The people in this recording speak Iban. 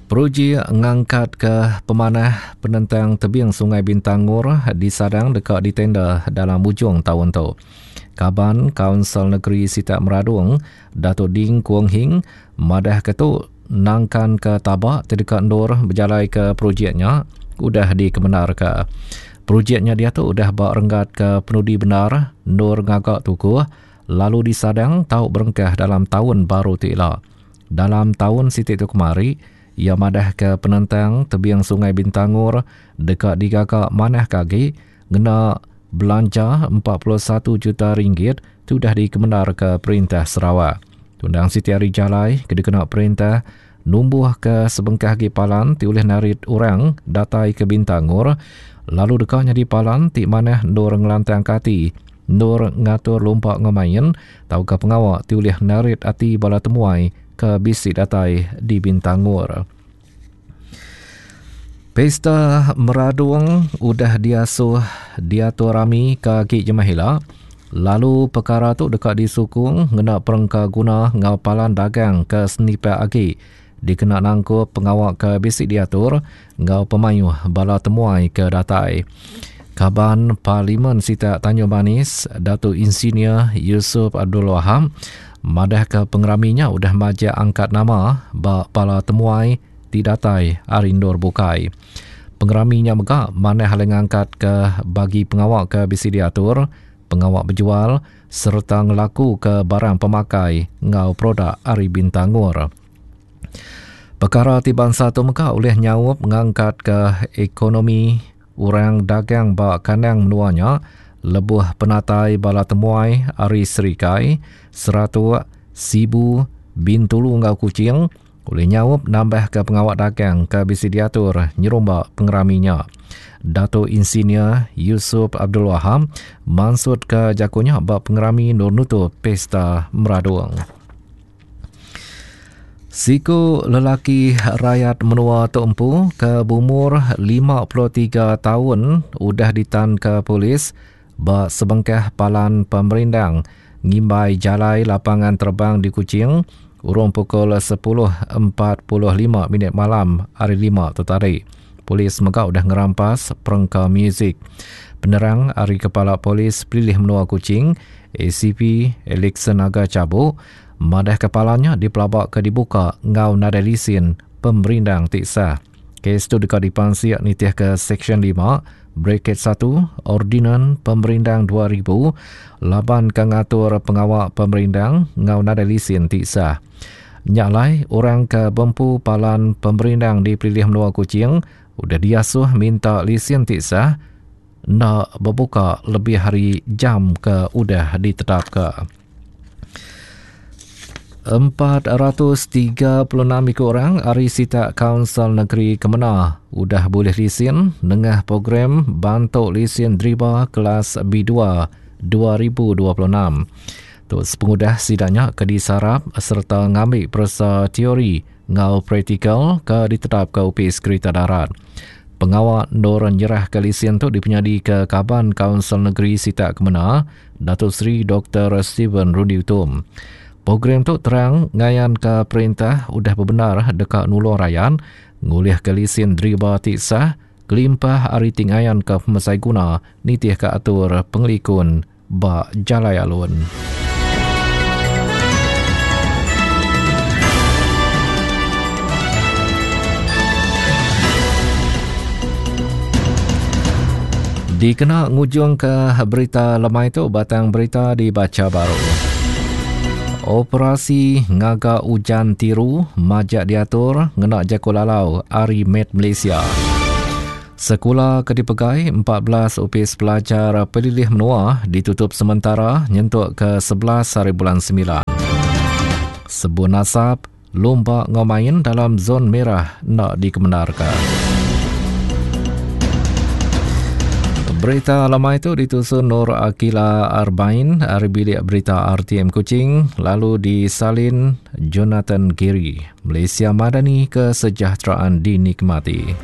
Projek ngangkatka pemanah penentang tebing Sungai Bintangor disadang deka ditender dalam ujung taun tu. Kaban Kaunsil Negeri Sitak Meradong, Datuk Ding Kuong Hing madahka tu nangkanka taba ti deka endur bejalaika projek nya udah dikemendarka. Projek nya diatu udah ba renggat ke penudi bendar endur ngaga tukuh lalu disadang tau berengkah dalam taun baru ti ila. Dalam taun siti tu kemari, iya madahka penentang tebing Sungai Bintangor deka digaga manahka agi ngena belanja 41 juta ringgit ti udah dikemendarka Perintah Sarawak. Tundang siti ari jalai ke dikena perintah numbuhka sebengkah agi palan ti ulih narit orang datai ke Bintangor lalu deka nyadi palan ti manah endur ngelantangka ati endur ngatur lumba enggau main tauka pengawa ti ulih narit ati bala temuai ke bisi datai di Bintangor. Pesta Meradong udah diasuh diatur rami ke agi jemah ila lalu pekara tu deka disukung ngena perengka guna enggau palan dagang ke senipak agi dikena nangkup pengawa ke bisi diatur enggau pemayuh bala temuai ke datai. Kaban Parlimen Sitak Tanjung Manis, Datuk Insinyur Yusuf Abdul Wahab madahka pengerami nya udah majak angkat nama ba bala temuai ti datai ari endur bukai. Pengerami nya mega manah alai ngangkatka bagi pengawa ke bisi diatur, pengawa bejual sereta ngelakuka barang pemakai enggau produk ari Bintangor. Pekara ti bansa tu mega ulih nyaup ngangkatka ekonomi orang dagang ba kandang menua nya lebuh penatai bala temuai ari Serikai, Seratok, Sibu, Bintulu enggau Kuching ulih nyaup nambahka pengawa dagang ke bisi diatur nyerumba pengerami nya. Datuk Insinyur Yusuf Abdul Wahab mansutka jaku nya ba pengerami endur nutup Pesta Meradong. Siku lelaki rayat menua tu empu ke beumur 53 taun udah ditanka polis ba sebengkah palan pemerindang ngimbai jalai lapangan terbang di Kuching urung pukul 10.45 minit malam hari Lima tu tadi. Polis mega udah ngerampas perengka muzik. Penerang ari Kepala Polis Pelilih Menua Kuching, ACP Elixon Aga Chabuk, madahka palan nya dipelabaka dibuka enggau nadai lisin pemerindang ti sah. Kes tu deka dipansik nitihka Seksyen 5, Braket 1, Ordinan Pemerindang 2000 laban ke ngatur pengawa pemerindang enggau nadai lisin ti sah. Nya alai, orang ke bempu palan pemerindang di Pelilih Menua Kuching udah diasuh minta lisin ti sah enda bebuka lebih ari jam ke udah ditetapka. 436 iku orang ari sitak Kaunsil Negeri Kemena udah bulih lisin nengah program Bantu Lisin Driba Kelas B2 2026. Tu sepengudah sida nya ke disarap sereta ngambi peresa teori enggau praktikal ke ditetapka Opis Kerita Darat. Pengawa endur nyerahka lisin tu dipenyadika Kaban Kaunsil Negeri Sitak Kemena, Dato Sri Doktor Stephen Rundi Utom. Program tu terang ngayanka perintah udah bebendar deka nulung rayat ngulihka lisin deriba ti sah kelimpah ari ti ngayanka pemesai guna nitihka atur pengelikun ba jalai alun. Dikena ngujungka berita lemai tu batang berita dibacha baru. Operasi ngaga ujan tiru majak diatur ngena jaku lalau ari Met Malaysia. Sekula ke dipegai 14 Opis Pelajar Pelilih Menua ditutup sementara nyentuk ke 11 hari bulan 9. Sebun asap, Lumba enggau main dalam zon merah enda dikemendarka. Berita lemai tu ditusun Nur Akila Arbain ari bilik berita RTM Kuching lalu disalin Jonathan Giri. Malaysia Madani kesejahteraan dinikmati.